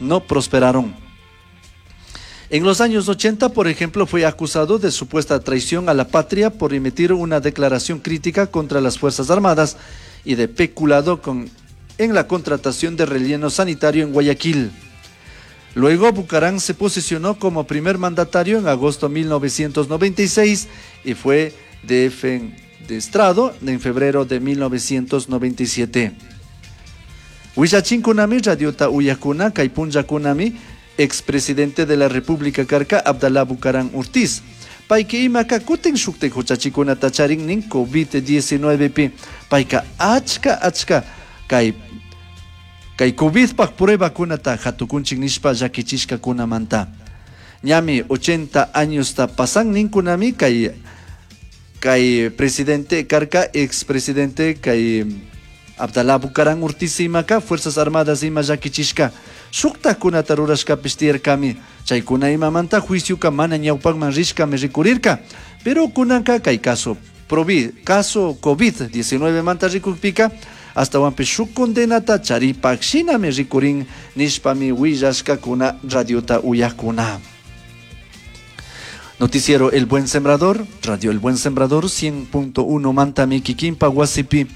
No prosperaron. En los años 80, por ejemplo, fue acusado de supuesta traición a la patria por emitir una declaración crítica contra las Fuerzas Armadas y de peculado en la contratación de relleno sanitario en Guayaquil. Luego, Bucaram se posicionó como primer mandatario en agosto de 1996 y fue defenestrado en febrero de 1997. Huillachinkunami radiota uyakuna kay punllakunami expresidente de la República karka Abdalá Bucaram Ortiz. Payka imaka kutin shuktik huchachikunata charin nin COVID-19 pi. Payka achka achka kay COVIDpak pruebakunata hatukunchik nishpa llakichishkakunamanta. Ñami 80 añosta pasan ninkunami kay presidente karka, expresidente kay Abdalá Bucaram Ortiz imaka Fuerzas Armadas ima llakichishka. Shuktakunata rurashkapish tiyarkami. Chaykuna imamanta juicioka mana ñawpakman rishkami rikurirka. Pero kunanka kay caso provi, caso COVID-19 manta rikukpika astawanpish shuk condenata charipak shinami rikurin nishpami willashkakuna radiota uyakuna. Noticiero El Buen Sembrador, Radio El Buen Sembrador 100.1 mantami kikinpa wasipi,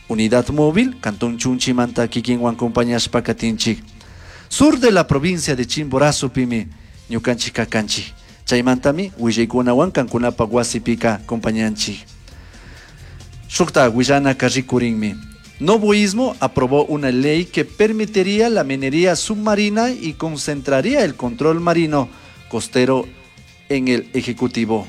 Unidad Móvil, Cantón Chunchi manta kikinwan compañashpa katinchik. Sur de la provincia de Chimborazo pimi, ñukanchik kakanchik. Chaymantami willaykunawan kankunapa wasipika compañanchik. Shukta willanaka rikurinmi. Noboísmo aprobó una ley que permitiría la minería submarina y concentraría el control marino costero en el Ejecutivo.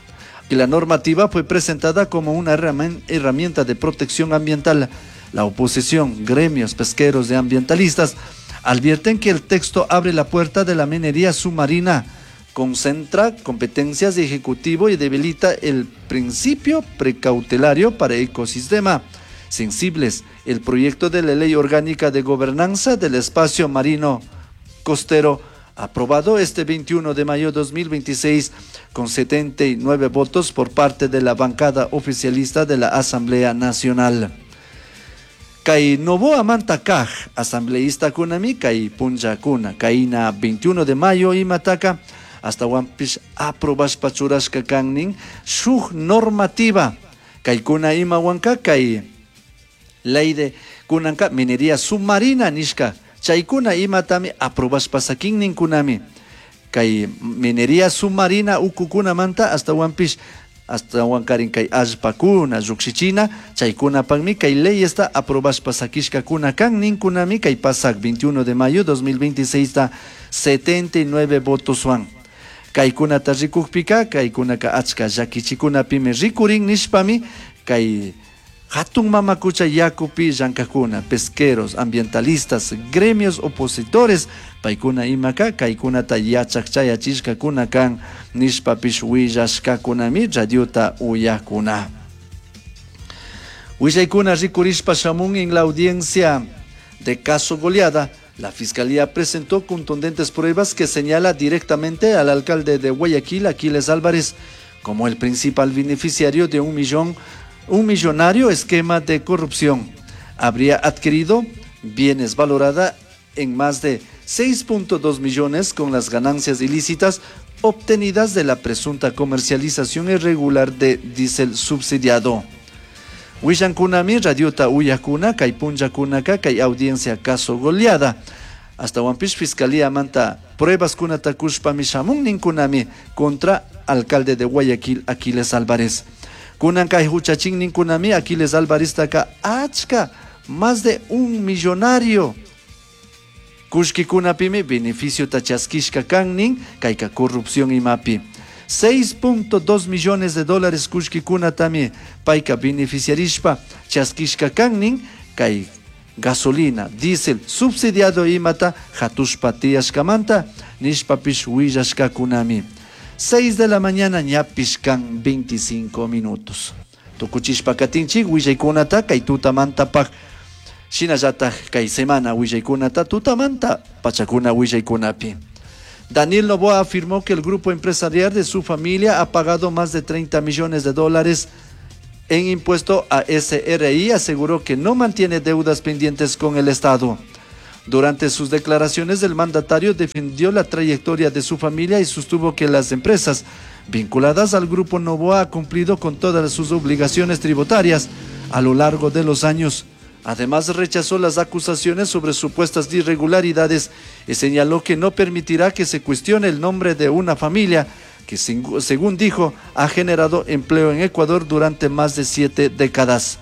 Y la normativa fue presentada como una herramienta de protección ambiental. La oposición, gremios pesqueros y ambientalistas advierten que el texto abre la puerta de la minería submarina, concentra competencias de Ejecutivo y debilita el principio precautelario para ecosistema sensibles. El proyecto de la Ley Orgánica de Gobernanza del Espacio Marino Costero, aprobado este 21 de mayo de 2026 con 79 votos por parte de la bancada oficialista de la Asamblea Nacional. Kay Noboa manta kaj asambleísta kunami kay punllakuna kayna 21 de mayo imataka astawanpish aprobashpa churashka kan shuk normativa kaykuna imawanka kay ley de kunanka minería submarina nishka chaykuna imatami aprobashpa sakin ninkunami kay minería submarina ukukunamanta astawanpish astawankarin kay allpakuna llukshichina chaykunapakmi kay ley esta aprobashpa sakishkakuna kan ninkunami kay pasak 21 de mayo 2026 ta 79 votoswan kaykunata rikukpika kaykunaka achka llakichikunapimi rikurin nishpami kay hatun mamakucha yakupi llankakuna pesqueros, ambientalistas, gremios opositores paykuna imaka kaykunata yachak chayachishkakuna kan nishpapish willashkakunami radiota uyakuna. Willaykuna rikurishpa shamun en la audiencia de caso Goleada. La Fiscalía presentó contundentes pruebas que señala directamente al alcalde de Guayaquil, Aquiles Álvarez, como el principal beneficiario de un millonario esquema de corrupción. Habría adquirido bienes valorada en más de 6.2 millones con las ganancias ilícitas obtenidas de la presunta comercialización irregular de diésel subsidiado. Willankunami radiota uyakuna kay punllakunaka kay audiencia caso Goleada. Astawanpish fiscalía manta pruebas kunata kushpami shamun ninkunami contra alcalde de Guayaquil Aquiles Álvarez. Kunan kay huchachin ninkunami Aquiles Álvarez taka achka más de un millonario. Kushkikunapimi beneficio chaskishka kan nin kayka corrupción imapi. 6.2 millones de dólares kushkikunatami payka beneficiarishpa chaskishka kan nin kay gasolina, diésel subsidiado imata hatushpa tiyashkamanta nishpapish willashkakunami. 6 de la mañana ñapish kan 25 minutos. Tukuchishpa katinchik willaykunata kay tutamantapaj shinallataj kay semana willaykunata tutamanta pachakuna willaykunapi. Daniel Noboa afirmó que el grupo empresarial de su familia ha pagado más de 30 millones de dólares en impuesto a SRI. Aseguró que no mantiene deudas pendientes con el Estado. Durante sus declaraciones, el mandatario defendió la trayectoria de su familia y sostuvo que las empresas vinculadas al Grupo Novoa han cumplido con todas sus obligaciones tributarias a lo largo de los años. Además, rechazó las acusaciones sobre supuestas irregularidades y señaló que no permitirá que se cuestione el nombre de una familia que, según dijo, ha generado empleo en Ecuador durante más de 7 décadas.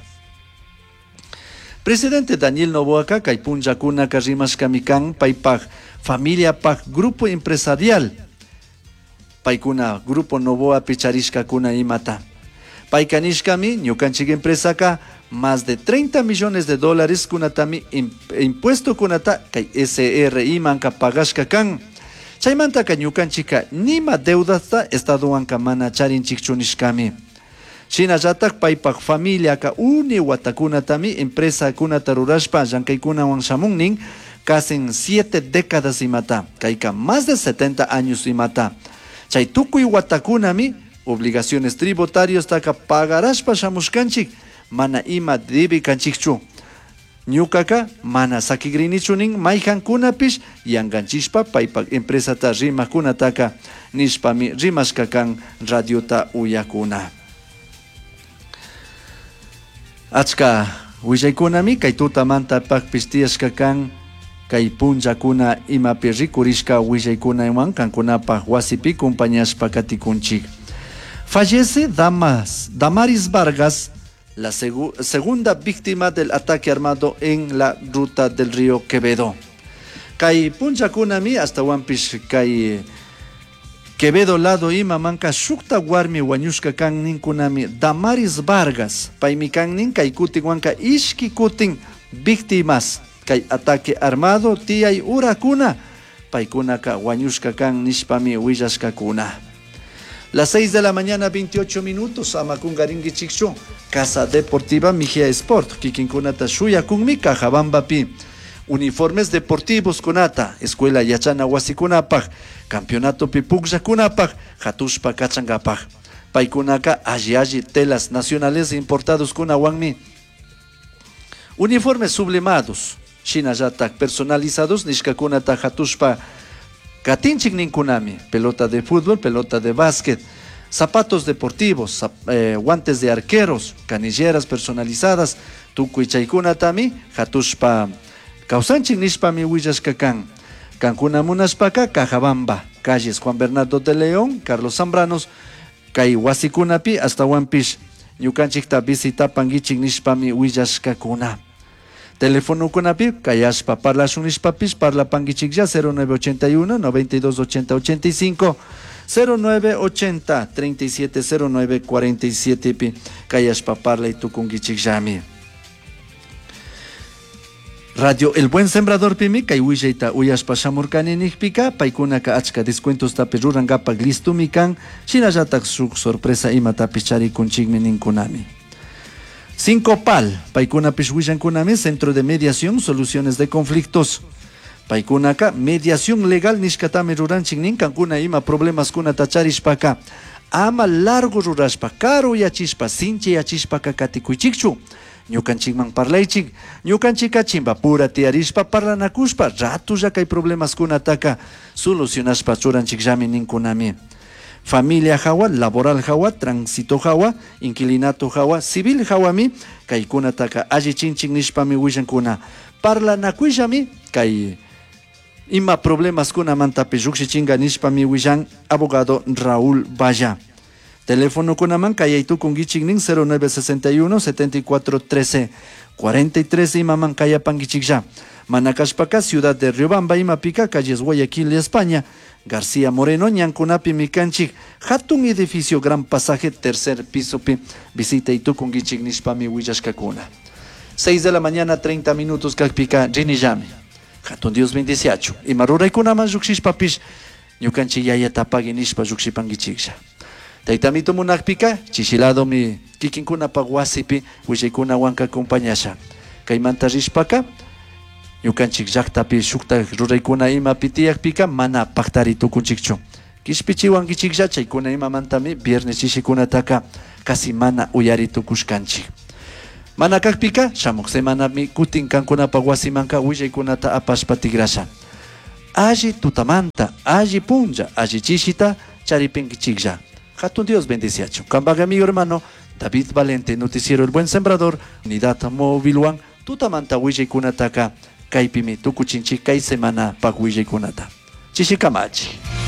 Presidente Daniel Noboaka kay punllakunaka rimashkami kan paypaj familia paj grupo empresarial paykuna Grupo Novoa picharishkakuna imata. Payka nishkami ñukanchik empresaka más de 30 millones de dólares kunatami impuesto kunata kay SRI manka pagashka kan. Chaymantaka ñukanchika nima deudasta estadowanka mana charinchikchu nishkami. Shinallatak paypak familiaka uni watakunatami empresa kunata rurashpa llankaykunawan shamunnin casi 7 décadas imata, kayka más de 70 años imata. Chay tukuy watakunami obligaciones tributarias taka pagarashpa shamushkanchik, mana ima debi kanchikchu. Ñukaka mana sakigrinichu nin mayjankunapish yanganchishpa paypak empresata rimakunataka nishpami rimashka kan radiota uyakuna. Achka willaykunami kay tutamanta pakpish tiyashka kan kay punllakuna imapi rikurishka willaykunawan kankunapaj wasipi compañashpa katikunchik. Fallece Damaris Vargas, la segunda víctima del ataque armado en la ruta del río Quevedo. Kay punllakunami hasta kay Quevedo lado ima manka shukta warmi wañushka kan ninkunami Damaris Vargas, paymi kan nin kay kutin wanka ishki kutin víctimas kay ataque armado tiyay urakuna paykunaka wañushka kan nishpami willashkakuna. Las 6 de la mañana, 28 minutos, amakungaringichikchu, Casa Deportiva Mejía Sport, kikinkunata shuyakunmi Cajabambapi. Uniformes deportivos kunata, escuela yachana wasikunapaj, campeonato pupukllakunapaj, hatushpa kachangapaj. Paykunaka alli alli telas nacionales importados kunawanmi. Uniformes sublimados, shinallatak personalizados nishkakunata hatushpa katinchik ninkunami, pelota de fútbol, pelota de básquet, zapatos deportivos, guantes de arqueros, canilleras personalizadas, tukuy chaykunatami hatushpa kawsanchik nishpami willashka kan. Kankuna munashpaka Cajabamba, calles Juan Bernardo de León, Carlos Zambranos, kay wasikunapi astawanpish ñukanchikta visitapankichik nishpami willashkakuna. Telefonokunapi kayashpa parlashun nishpapish parlapankichiklla cero nueve ochenta y uno, noventa y dos ochenta ochenta y cinco, cero nueve ochenta, treinta y siete cero nueve cuarenta y siete pi kayashpa parlay tukunkichikllami. Radio El Buen Sembrador pimi kay willayta uyashpa shamurkani nikpika paykunaka achka descuentos tapi rurankapak listumi kan shinallatak shuk sorpresa imatapish charikunchikmi ninkunami. Cinco Pal, paykunapish willankunami Centro de Mediación, Soluciones de Conflictos. Paykunaka mediación legal nishkatami ruranchik nin kankuna ima problemas kunata charishpaka ama largo rurashpa, karu yachishpa, sinchi yachishpaka katikuychikchu. Ñukanchikman parlaychik, ñukanchika chimbapura tiyarishpa parlanakushpa ratulla kay problemas kunataka solucionashpa churanchikllami ninkunami. Familia hawa, laboral hawa, tránsito hawa, inquilinato hawa, civil hawami, kaykunataka allichinchik nishpami willankuna. Parlanakuyllami kay ima problemas kunamantapish lluqshichinka nishpami willan abogado Raúl Valla. Teléfono kunaman kayay tukunkichik nin cero nueve sesenta y uno, setenta y cuatro, trece, cuarenta y tres imaman kayapankichiklla. Manakashpaka, ciudad de Riobamba, Imapica, calles Guayaquil y España. García Moreno, ñankunapi mikanchik, hatun edificio, gran pasaje, tercer piso pi, visita y tukunkichik nishpami willashkakuna. 6 de la mañana, 30 minutos, kakpika, rinillami. Hatun Dios bendiciachu. Ima ruraykunaman lluqshishpapish, ñukanchik yayata pagui nishpa lluqshipankichiklla. Taytamito munakpika, chishiladomi kikinkunapaq wasipi willaykunawanka acompañasha. Kaymanta rishpaka, ñukanchik llaqtapi shukta ruraykuna imapi tiyakpika mana paqtari tukunchikchu. Kishpichiwankichiklla chaykuna imamantami viernes chishikunataka casi mana uyari tukushkanchik. Mana kakpika shamuk semanami kutin kankunapa wasimanka willaykunata apashpa tigrasha. Alli tutamanta, alli punlla, alli chishita charipinkichiklla. Hatun Dios bendiciachun. Kampak amigo hermano David Valente, Noticiero El Buen Sembrador, Unidad Móvil tutamanta willaykunataka kaypimi tukuchinchik kay semana pak willaykunata. Chishikamachi.